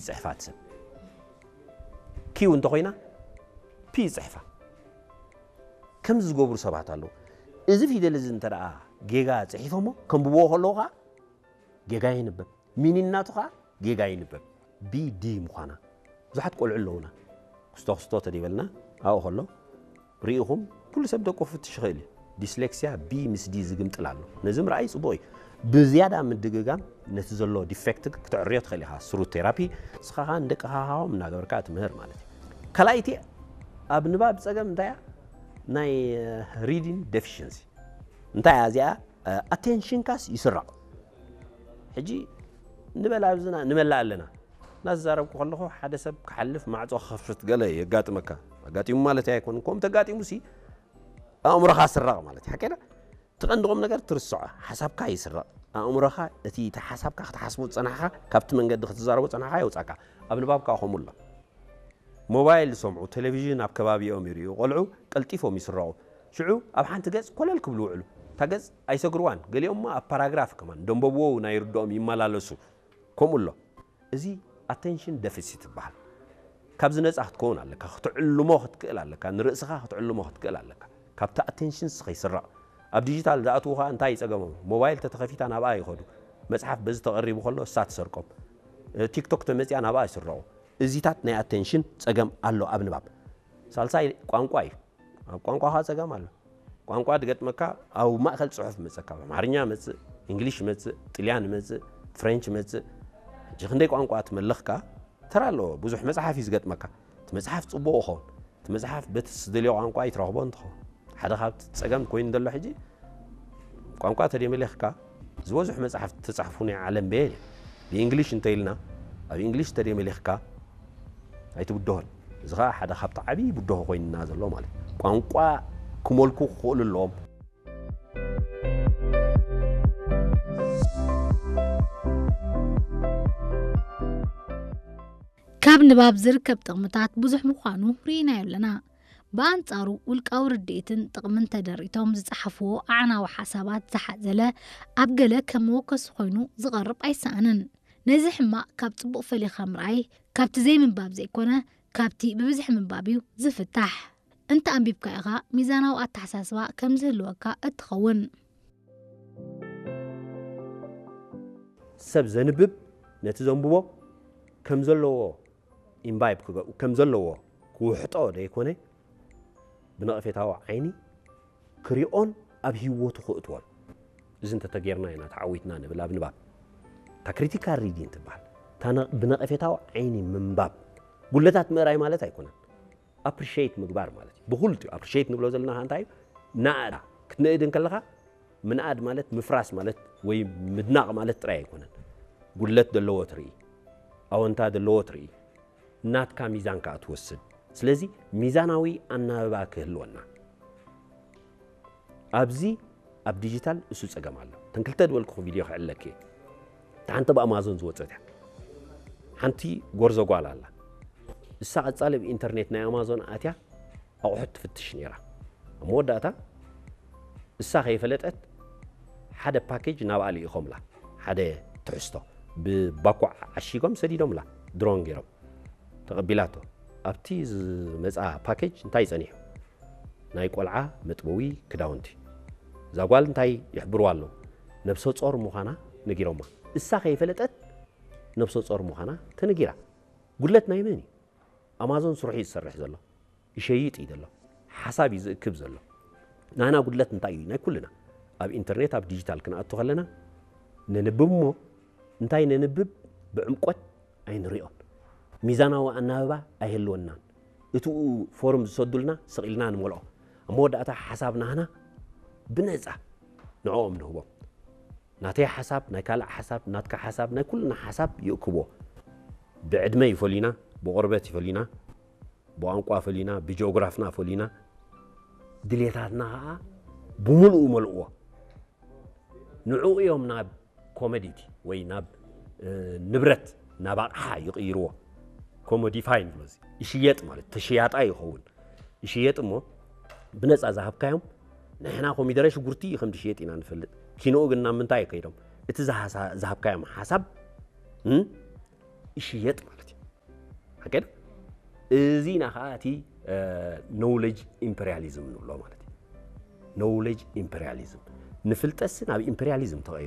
ይጽሕፋ እቲ ሰብ። ኪው እንተኾይና ፒ ይጽሕፋ። ከምዚ ዝገብሩ ሰባት ኣለዉ። እዚ ፊደል እዚ እንተ ደኣ ጌጋ ጽሒፎሞ ከንብብዎ ከለዉ ኸኣ ጌጋ ይንበብ። ሚኒናቱ ኸኣ ጌጋ ይንበብ። ቢ ዲ ምዃና ብዙሓት ቆልዑ ኣለዉና። ክስቶ ክስቶ ተደይበልና ኣብኡ ከሎ ርኢኹም ኩሉ ሰብ ደቁ ክፍትሽ ይኽእል እዩ። ዲስሌክሲያ ቢ ምስ ዲ ዝግምጥል ኣሎ። ነዚ ምርኣይ ጽቡቕ እዩ። ብዝያዳ ምድግጋም ነቲ ዘሎ ዲፌክት ክተዕርዮ ትኽእል ኢኻ። ስሩ ቴራፒ ንስኻ ኸኣ ንደቅኻ ኸኣ እናገበርካ ትምህር ማለት እዩ። ካልኣይቲ ኣብ ንባብ ጸገም እንታይ እያ? ናይ ሪዲንግ ዴፊሽንሲ እንታይ እያ እዚኣ? ኣቴንሽንካስ ይስረቕ። ሕጂ ንበል ኣብዝና ንመላ ኣለና። እናተዛረብኩ ከለኹ ሓደ ሰብ ክሓልፍ ማዕጾ ክኸፍት ገለ የጋጥመካ። ኣጋጢሙ ማለት ኣይኮን። ከምኡ ተጋጢሙሲ ኣእምሮኻ ስረቕ ማለት እዩ። ሓቀና እቲ ቀንዲ ቁም ነገር ትርስዖ። ሓሳብካ ይስረቕ። ኣእምሮኻ እቲ እቲ ሓሳብካ ክትሓስቦ ዝጸናሕካ ካብቲ መንገዲ ክትዛረቦ ጸናሕካ የውጻካ። ኣብ ንባብካ ከምኡ ኣሎ። ሞባይል ዝሰምዑ፣ ቴሌቪዥን ኣብ ከባቢኦም ይርእዩ ቆልዑ ቀልጢፎም ይስረቑ። ሽዑ ኣብ ሓንቲ ገጽ ኮለል ክብሉ ይውዕሉ። እታ ገጽ ኣይሰግርዋን። ገሊኦምማ ኣብ ፓራግራፍ ከማን ደንበብዎ እውን ኣይርድኦም ይመላለሱ። ከምኡ ኣሎ። እዚ ኣቴንሽን ደፊሲት ይበሃል። ካብዚ ነጻ ክትከውን ኣለካ። ክትዕልሞ ክትክእል ኣለካ። ንርእስኻ ክትዕልሞ ክትክእል ኣለካ። ካብቲ ኣቴንሽንስ ከይስረቕ። ኣብ ዲጂታል ዝኣትዉ ኸኣ እንታይ እዩ ጸገሞም? ሞባይል ተተኸፊታ ናብኣ ይኸዱ። መጽሓፍ በዚ ተቐሪቡ ከሎ እሳ ትሰርቆም። እ፣ ቲክቶክ ተመጽያ ናብኣ ይስረቑ። እዚታት ናይ ኣቴንሽን ጸገም ኣሎ ኣብ ንባብ። ሳልሳይ ቋንቋ እዩ። ኣብ ቋንቋ ኸኣ ጸገም ኣሎ። ቋንቋ ድገጥመካ ኣብ ማእከል ጽሑፍ መጸካ። ኣምሓርኛ መጽእ፣ እንግሊሽ መጽእ፣ ጥልያን መጽእ፣ ፍሬንች መጽእ። ሕጂ ክንደይ ቋንቋ ትመለኽካ ተራ ኣለዎ። ብዙሕ መጽሓፍ እዩ ዝገጥመካ። እቲ መጽሓፍ ጽቡቕ ይኸውን። እቲ መጽሓፍ በቲ ዝደልዮ ቋንቋ ይትረኽቦ እንትኸውን። ሓደ ካብቲ ጸገም ኮይኑ ዘሎ ሕጂ ቋንቋ ተደይመሊኽካ ዝበዝሑ መጽሓፍቲ ተጻሕፉ ናይ ዓለም በየን እዮም። ብእንግሊሽ እንተ ኢልና ኣብ እንግሊሽ ተደይመሊኽካ ኣይትብድሆን። እዚ ኸኣ ሓደ ካብቲ ዓብዪ ብድሆ ኮይንና ዘሎ ማለት እዩ። ቋንቋ ክመልኩ ክኽእሉ ኣለዎም። ካብ ንባብ ዝርከብ ጥቕምታት ብዙሕ ምዃኑ ርኢናዮ ኣለና። ብኣንጻሩ ውልቃዊ ርድኢትን ጥቕምን ተደሪቶም ዝጸሓፍዎ ኣዕናዊ ሓሳባት ዝሓዘለ ኣብ ገለ ከም መወከሲ ኮይኑ ዝቐርብ ኣይሰኣንን። ነዚ ሕማቕ ካብ ጽቡቕ ፈሊኻ ምርኣይ ካብቲ ዘይምንባብ ዘይኮነ ካብቲ ብብዝሒ ምንባብ እዩ ዝፍታሕ። እንተ ኣንቢብካ ኢኻ ሚዛናዊ ኣተሓሳስባ ከም ዝህልወካ እትኸውን። ሰብ ዘንብብ ነቲ ዘንብቦ ከም ዘለዎ ኢምባይብ ክገብኡ ከም ዘለዎ ክውሕጦ ደይኮነ ብነቐፌታዊ ዓይኒ ክሪኦን ኣብ ህይወቱ ክእትዎን። እዚ እንተተጌርና ኢና ተዓዊትና ንብል ኣብ ንባብ። እታ ክሪቲካል ሪዲንግ ትበሃል። እታ ነ- ብነቐፌታዊ ዓይኒ ምንባብ። ጉለታት ምእራይ ማለት ኣይኮነን። ኣፕሪሽት ምግባር ማለት እዩ። ብኹልቲኡ ኣፕሪሽት ንብሎ ዘለና ከኣ እንታይ እዩ? ናእዳ ክትንእድ እንከለኻ ምንኣድ ማለት ምፍራስ ማለት ወይ ምድናቕ ማለት ጥራይ ኣይኮነን። ጉድለት ዘለዎ ትርኢ፣ ኣወንታ ዘለዎ ትርኢ፣ ናትካ ሚዛን ከኣ ትወስድ። ስለዚ ሚዛናዊ ኣናብባ ክህልወና። ኣብዚ ኣብ ዲጂታል እሱ ጸገም ኣሎ። እተን ክልተ ዝበልኩኹ ቪድዮ ክዕለክ እየ። እታ ሓንቲ ብኣማዞን ዝወጸት እያ። ሓንቲ ጎርዞ ጓል ኣላ። እሳ ቀጻሊ ኣብ ኢንተርኔት ናይ ኣማዞን ኣትያ ኣቑሑት ትፍትሽ ነይራ። ኣብ መወዳእታ እሳ ከይፈለጠት ሓደ ፓኬጅ ናብኣ ልኢኾምላ። ሓደ ትሕዝቶ ብባኮ ዓሺጎም ሰዲዶምላ። ድሮን ገይሮም ተቐቢላቶ። ኣብቲ ዝመጽኣ ፓኬጅ እንታይ ጸኒሑ? ናይ ቆልዓ መጥበዊ ክዳውንቲ። እዛ ጓል እንታይ ይሕብርዋ ኣለዉ? ነብሰ ጾር ምዃና ነጊሮማ። እሳ ከይፈለጠት ነብሰ ጾር ምዃና ተነጊራ። ጉድለት ናይ መን እዩ? ኣማዞን ስርሑ እዩ ዝሰርሕ ዘሎ። ይሸይጥ እዩ ዘሎ። ሓሳብ እዩ ዝእክብ ዘሎ። ናህና ጉድለት እንታይ እዩ? ናይ ኩልና። ኣብ ኢንተርኔት ኣብ ዲጂታል ክንኣቱ ከለና ነንብብ እሞ እንታይ ነንብብ ብዕምቆት ኣይንሪኦን። ሚዛናዊ ኣናብባ ኣይህልወናን። እቲኡ ፎርም ዝሰዱልና ስቕ ኢልና ንመልኦ። ኣብ መወዳእታ ሓሳብ ናህና ብነጻ ንዕኦም ንህቦም። ናተይ ሓሳብ፣ ናይ ካልእ ሓሳብ፣ ናትካ ሓሳብ፣ ናይ ኩልና ሓሳብ ይእክብዎ። ብዕድመ ይፈልዩና፣ ብቆርበት ይፈልዩና፣ ብቋንቋ ፈልዩና፣ ብጂኦግራፍና ፈልዩና፣ ድሌታትና ኸዓ ብምሉኡ ይመልእዎ። ንዕኡ እዮም ናብ ኮሞዲቲ ወይ ናብ ንብረት ናብ ኣቕሓ ይቕይርዎ። ኮሞዲፋይ ንብሎ እዚ ይሽየጥ ማለት ተሽያጣ ይኸውን። ይሽየጥ እሞ ብነፃ ዝሃብካዮም ንሕና ኮሚደረ ሽጉርቲ ከም ዝሽየጥ ኢና ንፈልጥ። ኪንኡ ግን ናብ ምንታይ ከይዶም እቲ ዝሃሳ- ዝሃብካዮም ሓሳብ እም፣ ይሽየጥ ማለት እዩ። ሓቂ ዶ? እዚና ከዓ እቲ knowledge imperialism ንብሎ ማለት እዩ። Knowledge imperialism፣ ንፍልጠትሲ ናብ ኢምፔሪያሊዝም ተቐይሩ።